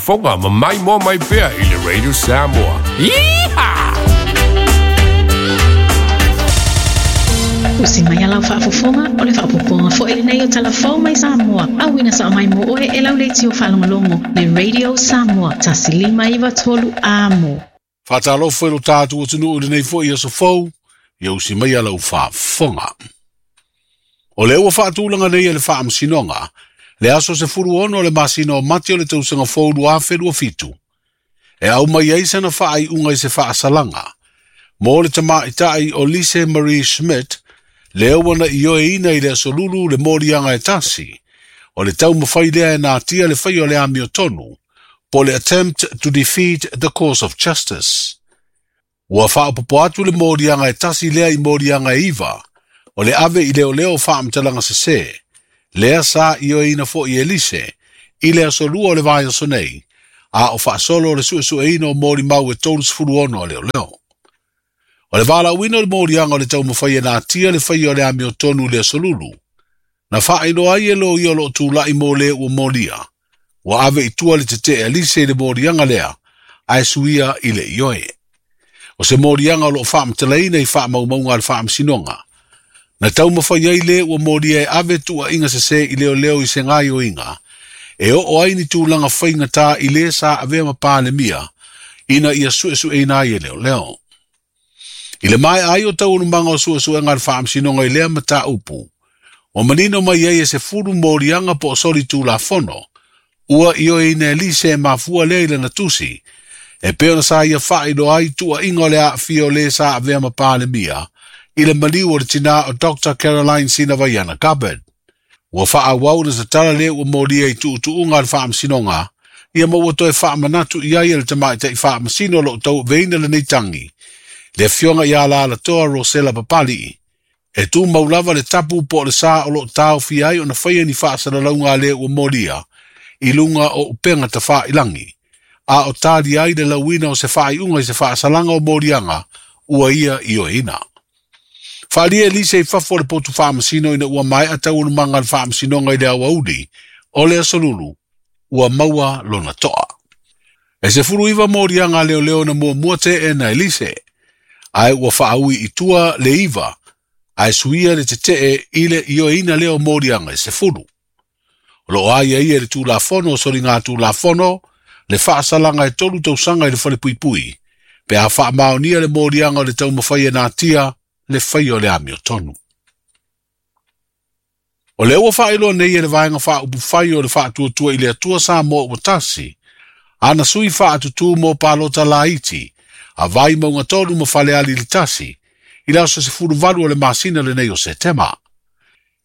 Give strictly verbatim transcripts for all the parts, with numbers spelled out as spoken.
faafofoga ma maimoa mai pea i le Radio Samoa. Yeehaw! Usi mai alau faafofoga o le faapopoga foi lenei o talafou mai Samoa. Auina sa mai mo oe e lau leitio faalogologo le Radio Samoa tasi lima iva tolu amo. Faatalofa i lo tatou atunuu i lenei foi aso fou, ia usi mai alau faafofoga. O le ua faatulaga nei e le faamasinoga, le aso sefulu ono o le masina o Mati o le tausaga fou lua afe lua fitu. E au mai ai sana faaiuga i se faasalaga. Mo le tamaitai o Lise Marie Schmidt, lea ua na ioeina i le aso Lulu le moliaga e tasi, o le taumafai lea e natia le fai o le amiotonu, po le attempt to defeat the cause of justice. Ua faapopo atu le moliaga e tasi lea i moliaga e iva, o le ave i leoleo faamatalaga sesē, lea sa ioeina foi e Lise, i le aso lua o le vaiaso nei, a o faasolo o le suesueina o molimau e tolu sefulu ono a leoleo. O le valaauina o le moliaga o le taumafai e natia le fai o le amiotonu i le aso Lulu, na faailoa ai e loia o loo tula'i mo le ua molia, ua ave i tua le tetee a Lise i le moliaga lea, ae suia i le ioe. O se moliaga o loo faamatalaina i faamaumauga a le faamasinoga, na taumafai ai le ua molia e ave tuuaiga sesē i leoleo i se gaioiga, e oo ai ni tulaga faigatā i le sa avea ma Palemia, ina ia suesueina ai e leoleo. I le maea ai o taualumaga o suesuega a le faamasinoga i lea mataupu, ua manino mai ai e sefulu moliaga po o soli tulafono, ua ioeina e Lise e mafua lea i lana tusi, e pei ona sa ia faailoa ai tuuaiga o le aafia o le sa avea ma Palemia, i le maliu o le tinā o Doctor Caroline Sinavaiana Gabbard. Ua faaauau na tatala le ua molia i tuutuuga a le faamasinoga, ia ma ua toe faamanatu i ai e le tamaitai faamasino o loo tauaveina lenei tagi, le afioga ia Alalatoa Rosela Papali'i. E tumau lava le tapu po o le sa o loo taofia ai ona faia ni faasalalauga a le ua molia, i luga o upega tafailangi, a o tali ai le lauina o se faaiuga i se faasalaga o moliaga ua ia ioeina. Faalia e Lise i fafo o le potu faamasino ina ua maea taualumaga a le faamasinoga i le aoauli, o le aso Lulu, ua maua lona toa. E sefulu iva moliaga a leoleo na muamua teena e Lise, ae ua faaui i tua le iva, ae suia le tetee i le ioeina lea o moliaga e sefulu. O loo aia ia le tulafono o soliga tulafono, le faasalaga e tolu tausaga i le falepuipui, pe a faamaonia le moliaga o le taumafai e natia le fai o le amiotonu. O le ua faailoa nei e le vaega faaupufai o le faatuatua i le Atua Samoa ua tasi, ana sui faatutū mo palota laiti, a Vaimauga tolu ma Faleali le tasi, i le aso sefulu valu o le masina lenei o Setema.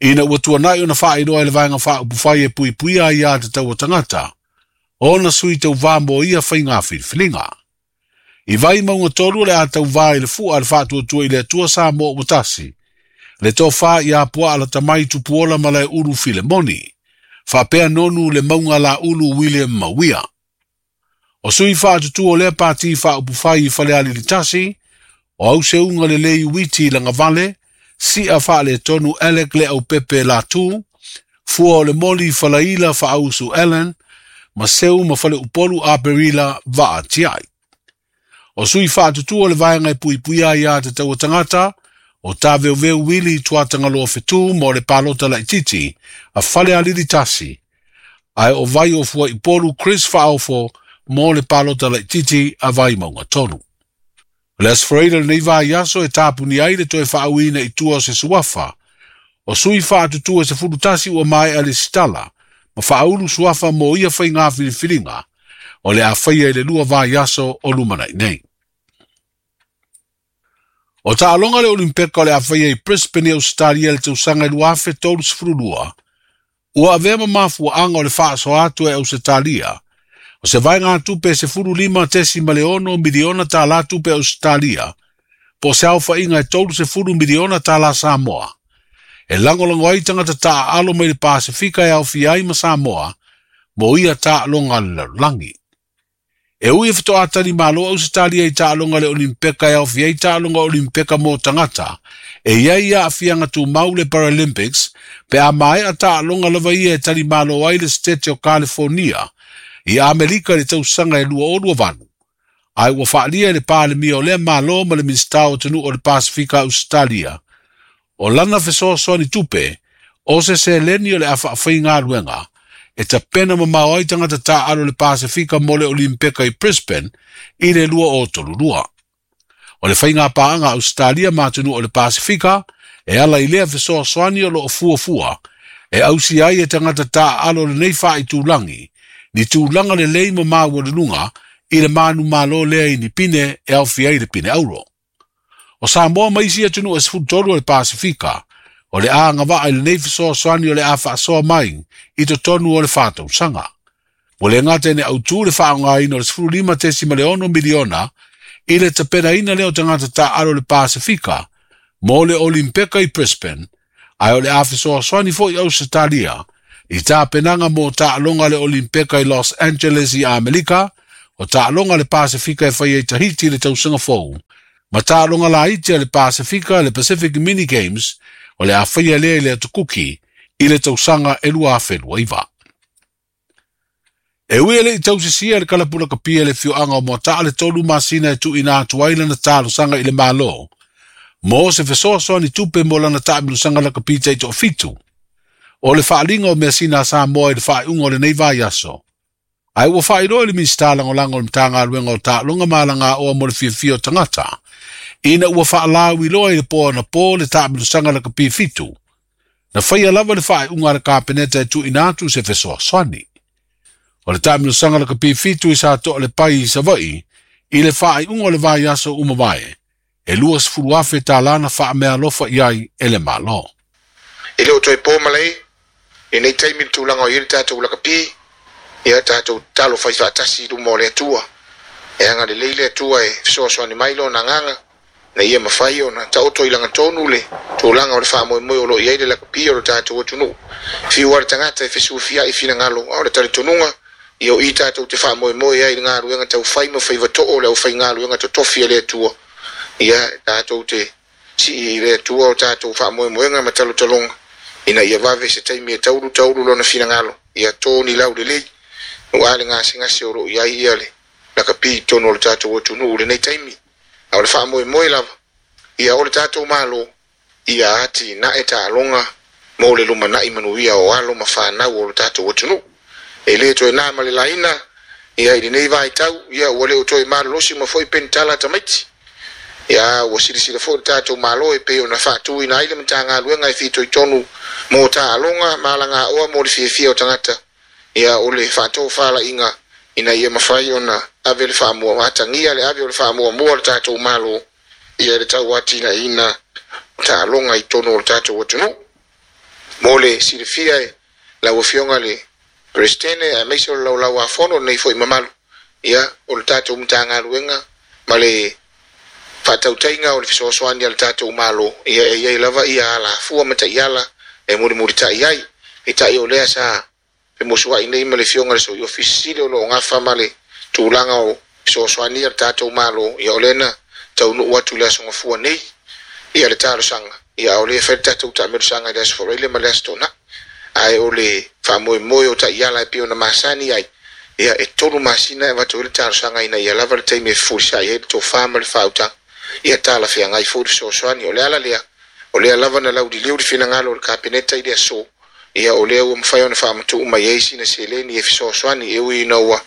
Ina ua tuanai ona faailoa e le vaega faaupufai e puipuia ai a tatau o tagata, ona sui tauvā mo ia faiga filifiliga. I Vaimauga tolu o le a tauvā i le fua a le faatuatua i le Atua Samoa ua tasi, le tofā ia Puaa Latamai Tupuola Malaeulu Filemoni, faapea nonu le mauga laulu William Mauia. O sui faatutu o lea pati faaupufai i Faleali le tasi, o auseuga lelei Uiti Lagavale, Sia faaletonu Alec Le Aupepe Latu, fua o le moli Falaila Faausu Ellen, ma seu ma Faleupolu Aperila Vaa Tiai. O sui faatutu o le vaega e puipuia ai a tatau o tagata, o Taveuveu Wili Tuatagaloa Fetu mo le palota laititi a Falealili tasi, ae o vai o Fuaipolu Chris Faaofo mo le palota laititi a Vaimauga tolu. O le aso Faraile lenei vaiaso e tapuni ai le toe faauiina i tua o se suafa, o sui faatutu e sefulu tasi ua maea le sitala, ma faaulu suafa mo ia faiga filifiliga, o le a faia i le lua vaiaso o lumanai nei. O taaloga le Olimpeka o le a faia i Brisbane i Australia le tausaga i lua afe tolu sefulu lua, ua avea ma mafuaaga o le faasoa atu e Ausetalia, o se vaegatupe e sefulu lima tesi ma le ono miliona tālā tupe Australia, po o se aofaiga e tolu sefulu miliona tālā Samoa. E lagolago ai tagata taaalo mai le Pasifika e aofia ai ma Samoa, mo ia taaloga a le lalolagi. E ui e fetoatali malo Ausetalia i taaloga le Olimpeka e aofia ai taaloga Olimpeka mo tagata, e iai aafiaga tumau le Paralympics, pe a maea taaloga lava ia e tali malo ai le State o California, I Amerika le tausaga e lua o lua valu. Ae ua faalia i le Palemia o lea Malo ma le Minisita o Atunuu o le Pasefika Ausetalia. O lana fesoasoani tupe, o se seleni o le a faafaigaluega, e tapena mamao ai tagata taaalo le Pasefika mo le Olimpeka i Brisbane i le lua o tolu lua. O le faiga paaga Ausetalia ma atunuu o le Pasefika, e ala i lea fesoasoani o loo fuafua, e ausi ai e tagata taaalo lenei faaitulagi, ni tulaga lelei ma maualuluga i le manumalo lea i ni pine e aofia ai le pine auro. O Samoa ma isi atunuu e sefulu tolu o le Pasefika, o le a agavaa i lenei fesoasoani o le a faasoa mai i totonu o le fa tausaga. Ua le gata ina autū le faaaogaina o le sefulu lima tesima le ono miliona i le tapenaina lea o tagata taaalo le Pasefika mo le Olimpeka i Brisbane, ae o le a fesoasoani foi Ausetalia i tapenaga mo taaloga le Olimpeka i Los Angeles i Amerika, o taaloga le Pasefika e faia i Tahiti i le tausaga fou, ma taaloga laiti a le Pasefika le Pacific Mini Games o le a faia lea i le Atu Kuki i le tausaga e lua afe lua iva. E ui e le i tausisia le kalapu lakapi e le afioaga o Moataa le tolu masina e tuuina atu ai lana talosaga i le Malo mo se fesoasoani tupe mo lana taamilosaga lakapi taitoafitu. O le faaliga o measina a Samoa i le faaiuga o lenei vaiaso. Ae ua faailoa i le Minisita Lagolago o le Matagaluega o Taaloga ma Alagaoa mo le Fiafia o Tagata, ina ua faalauiloa i le po anapo le taamilosaga lakapi fitu. Na faia lava le faaiuga a le Kapeneta e tuuina atu se fesoasoani. O le taamilosaga lakapi fitu i sa Toalepai i Savaii i le faaiuga o le vaiaso ua mavae, e luasefulu afe tālā na faameaalofa i ai e le Malo. E le o toe po malae lenei taimi le tulaga o i ai le tatou lakapi, ia tatou tatalo fai faatasi i luma o le Atua. E agalelei le Atua e fesoasoani mai lona agaga ina ia mafai ona taoto i lagatonu le tulaga o le faamoemoe o lo o i ai le lakapi o le tatou atunuu. Fiu lava le tagata e fesufiai finagalo, a o le talitonuga, ia o i tatou te faamoemoe ai i le galuega taufai ma faiva too o le aufaigaluega totofi a le Atua. Ia tatou te sii i le Atua o tatou faamoemoega ma talotaloga ina ia vave se taimi e taulu taulu lona finagalo, ia to ni lau lelei aua le gasegase o lo o i ai ia le lakapi i totonu o le tatou atunuu i lenei taimi. A o le faamoemoe lava, ia o le tatou Malo ia atinae taaloga mo le lumanai manuia o alo ma fanau o le tatou atunuu. E le toe na ma le laina ia i lenei vaitau, ia ua le o toe malolosi ma foi penitala tamaiti. Ia ua silasila foi le tatou Malo e pei ona faatuina ai le Matagaluega e fitoitonu mo taaloga ma alagaoa mo le fiafia o tagata, ia o le faatofalaiga ina ia mafai ona ave le faamua, atagia le ave o le faamuamua o le tatou Malo ia le tauatinaeina taaloga i totonu o le tatou atunuu. Mo le silafia e lau Afioga le Peresetene aemaise o le Laulau-a-Fono lenei foi mamalu, ia o le tatou Matagaluega ma le faatautaiga o le fesoasoani a le tatou Malo, ia e i ai lava ia alafua ma taiala e mulimulitai ai. Peitai o lea sa femusuai nei ma le Afioga i le Sui Ofisa Sili o lo o gafa ma le tulaga o fesoasoani a le tatou Malo, ia o lea na taunuu atu i le Aso Gafua nei ia le talosaga, ia a o lea e fai le tatou taamelosaga i le Aso Faraile ma le Aso Toonai. Ae o le faamoemoe o taiala e pei ona masani ai, ia e tolu masina e avatu ai le talosaga ina ia lava le taimi e fefulisai ai le tofa ma le faautaga, ia talafeagai foi le fesoasoani. O le ala lea, o lea lava na lauliliu le finagalo o le Kapeneta i le aso, ia o lea ua mafai ona faamatuu mai ai sina seleni e fesoasoani, e ui ina ua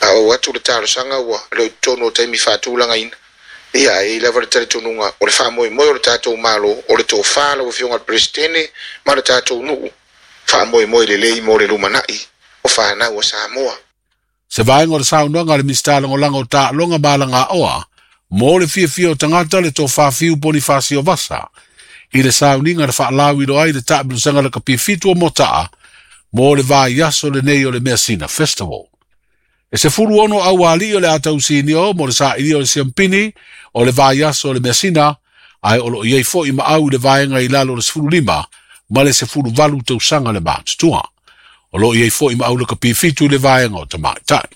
oo atu le talosaga ua le o i totonu o taimi faatulagaina. Ia ae i ai lava le talitonuga o le faamoemoe o le tatou Malo, o le tofa lau Afioga i le Peresetene ma le tatou nuu, faamoemoe lelei mo le lumanai o fanau a Samoa. Se vaega o le saunoaga a le Minisita Lagolago o Taaloga ma Alagaoa mo le Fiafia o Tagata le Tofa Fiu Ponifasio Vasa i le sauniga na faalauiloa ai le taamilosaga lakapi fitu o Moataa mo le vaiaso lenei o le Measina Festival. E sefulu ono aualii o le a tausinio mo le sailia o le siampini o le vaiaso o le measina, ae o lo o i ai foi ma au i le vaega i lalo o le sefulu lima ma le sefulu valu tausaga le matutua. O lo o i ai foi ma au lakapi fitu i le vaega o tamaitai.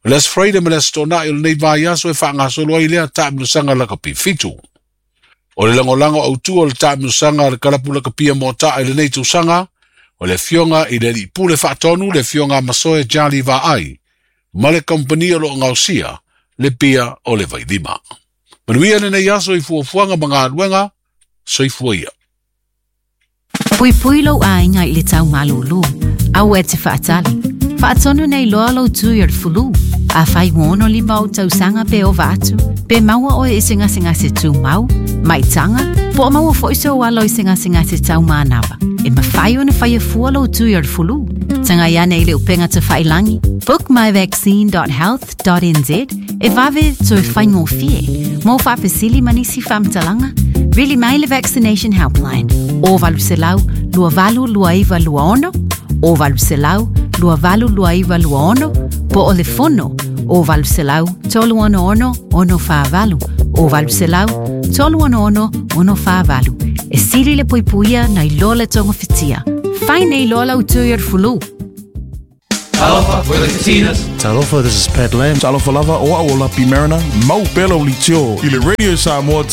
O le Aso Faraile ma le Aso Toonai o lenei vaiaso e faagasolo ai lea taamilosaga lakapi fitu. O le lagolago autu o le taamilosaga a le kalapu lakapia Moataa i lenei tausaga, o le Afioga i le Alii Pule Faatonu, le Afioga Masoe Jali Vaai. Ma le kampani o loo gaosia le pia o le vailima. Manuia lenei aso i fuafuaga ma galuega. Soifua ia. Puipui lou aiga i le tau malūlū. Aua e te faatali. Faatonu nei loa lou tui o le fulu. Afai ua ono lima ou tausaga pe ova atu, pe maua oe i se gasegase tumau, maitaga, po o maua foi sou alo i se gasegase taumanava. E mafai ona faia fua lou tui o le fulu. Tagai ane i le upega tafailagi, bookmyvaccine dot health dot N Z e vave toe faigofie. Mo faafesili ma nisi faamatalaga, vili mai le Vaccination Helpline, o valu selau, lua valu lua iva lua ono, o valu selau, lua valu lua iva lua ono, po o le fono, o valu selau, tolu ono ono, ono whaavalu, o valu selau, tolu ono ono, ono whaavalu. E sili le puipuia nai lo le togofitia. Fai nei loa lau tui o le fulu. Talofa, we're the Katinas. Talofa, this is Pat Lam. Talofa lava, o au o Lapi Mariner, mau pea lau leitio i le Radio Samoa.